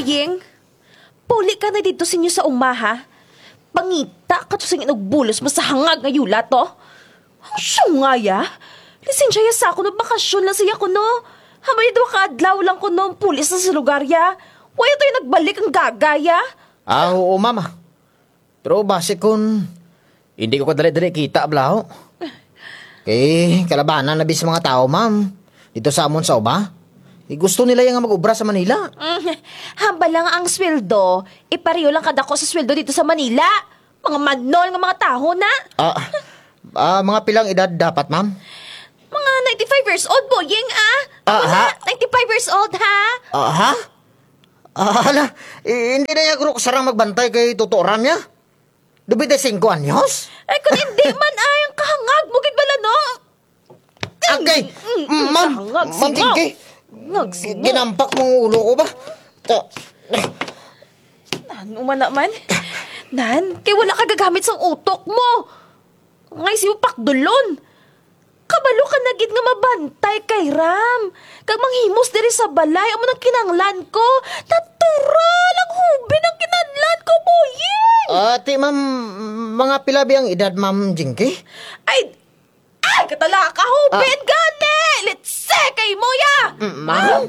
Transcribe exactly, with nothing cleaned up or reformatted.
Ping, pauli ka na didto sa inyo sa uma, ha? Pangita kato sa ingon og bulos mo sa hangag nga yulat, o. Ang sunga ya. Lisensya ya sa kuno, bakasyon lang sa iya kuno. Ambot duha ka adlaw lang kuno ang pauli sa lugar ya. Wara to nagbalik ang gaga ya. Ah, oo, ma'am. Pero basi kon indi ko kadali-dali kita, bala, o. Kay kalabanan na bi sa mga tawo, ma'am. Didto sa amon sa uma. Kay gusto nila ya nga mag-obra sa Manila. Mm, hambal lang ang sweldo, ipareho lang kadako sa sweldo didto sa Manila. Mga manol nga mga tawo na. Ah, ah, mga pila ang edad dapat, ma'am? Mga ninety-five years old, boying, ah. Ah, ako na, ha? Ninety-five years old, ha? Ah, ha? Ah, hala, i-, indi na ya guro kasarang magbantay kay Toto Ram ya. Nobenta y singko anyos? Ay, kon indi man, ay, ang kahangag mo gid bala, no? Agay, mm, mm, ma'am, kahangag, ma'am singaw. Jinky. Hangag, singaw. Ginampak mo ang ulo ko ba? Ta- Nan, umana man. Nan, kay wara ka gagamit sang utok mo. Nga isi mo pakdulon. Kabalo ka na gid nga mabantay kay Ram. Kag manghimos diri sa balay, amo nang kinahanglan ko. Natural, ang hoben ang kinahanglan ko, boying! Ah, ti, ma'am, mga pila bi ang edad, Ma'am Jinky? Ay, ay, katalaka, hoben gani! Letse kay mo ya! Mm, ma'am?